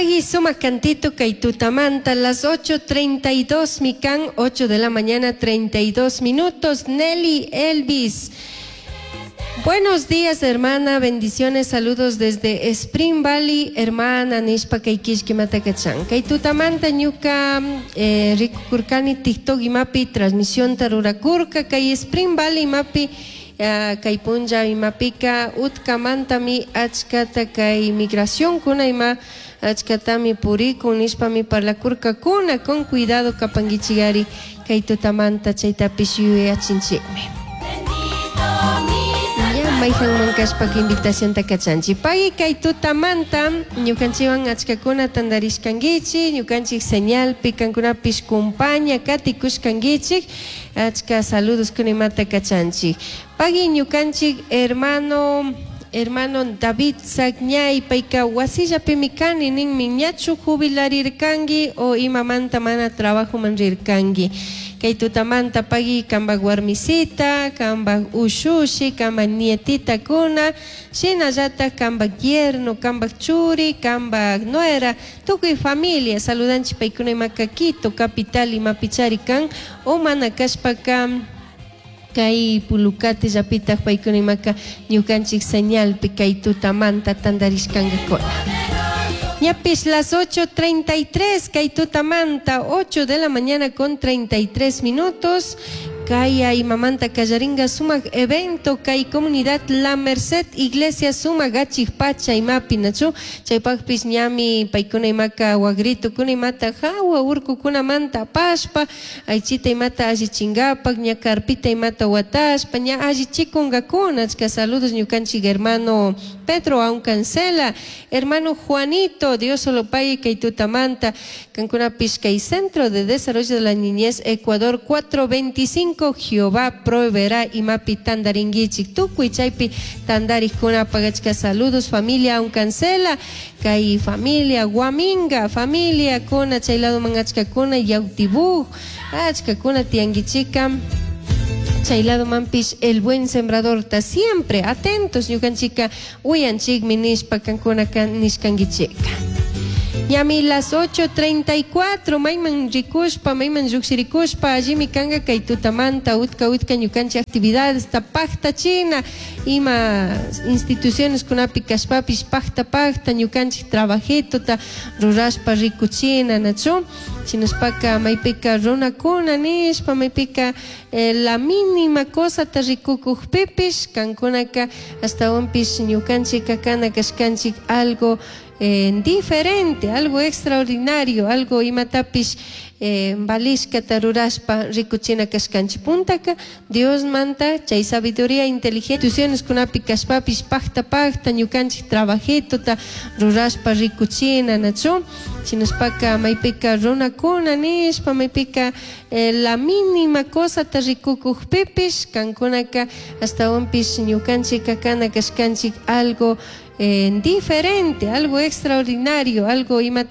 Pagui sumak cantito kay tutamanta, las 8:32 mikan, 8 de la mañana 32 minutos. Nelly Elvis. Buenos días, hermana. Bendiciones, saludos desde Spring Valley, hermana nishpa kay kishkimata kachan. Kay tutamanta ñuka rikukurkani TikTok imapi transmisión rurakurka kay Spring Valley imapi kay punlla imapika utkamantami achkata kay migración kuna ima achkatami purikun nishpami parlakurkakuna con cuidado kapankichigari kay tutamanta chaytapish yuyachinchikmi. Ya mayhanman kashpaka invitacionta kachanchik. Pagui kay tutamanta ñukanchikwan achkakuna tantarishkankichik, ñukanchik señalpi kankunapish kumpaña katikushkankichik, achka saludos kunimata kachanchik. Pagui ñukanchik hermano David Sagñay payka wasillapimi kani ninmi ñachu jubilarirkanki o imamanta mana trabajoman rirkanki. Kay tutamanta pagui kanpak warmisita, kanpak ushushi, kanpak nietitakuna, shinallatak kanpak yerno, kanpak churi, kanpak nuera, tukuy familia saludanchik paykuna imaka Quito capital imapichari kan o mana kashpaka kay Pulucate llapitak paykuna imaka ñukanchik señalpi kay tutamanta tantarishkankakuna. Ñapish las 8:33 kay tutamanta 8 de la mañana con 33 minutos kay imamanta kallaringa sumak evento kay comunidad La Merced Iglesia sumak achik pacha imapi nachu chaypakpish ñami paykuna imaka wagritukuna imata hawa urkukunamanta apashpa aychita imata allichingapak ña carpita imata watashpa ña allichikunkakuna achka saludos ñukanchik hermano Pedro Aucancela, hermano Juanito, Dios solo pague kay tutamanta kankunapish kay Centro de Desarrollo de la Niñez Ecuador 425 Jehová proveerá imapi tantarinkichik tukuy chaypi tantarikkunapaq achka saludos familia Aucancela kay familia Guaminga familia kuna chay ladoman achkakuna Yautibuj achkakuna tiyankichika chay ladomanpish el buen sembrador ta siempre atentos ñukanchika uyanchikmi nishpa kankunaka nishkankichika. Ñami las 8:34 mayman rikushpa mayman lluqshirikushpa allimi kanka kay tutamanta utka utka ñukanchik actividades ta paktachina ima instituciones kunapi kashpapish pakta pakta ñukanchik trabajitota rurashpa rikuchina nachu shinashpaka maypika runakuna nishpa maypika la mínima cosata rikukukpipish kankunaka ashtawanpish ñukanchika kana kashkanchik algo diferente, algo extraordinario, algo imatapish valishkata rurashpa rikuchina kashkanchik puntaka Dios manta chay sabiduría inteligente instituciones kunapi kashpapish pakta pakta ñukanchik trabajitota rurashpa rikuchina nachu shinashpaka maypika runakuna nishpa maypika la mínima cosata rikukukpipish kankunaka ashtawanpish ñukanchika kana kashkanchik algo diferente, algo extraordinario, algo imata.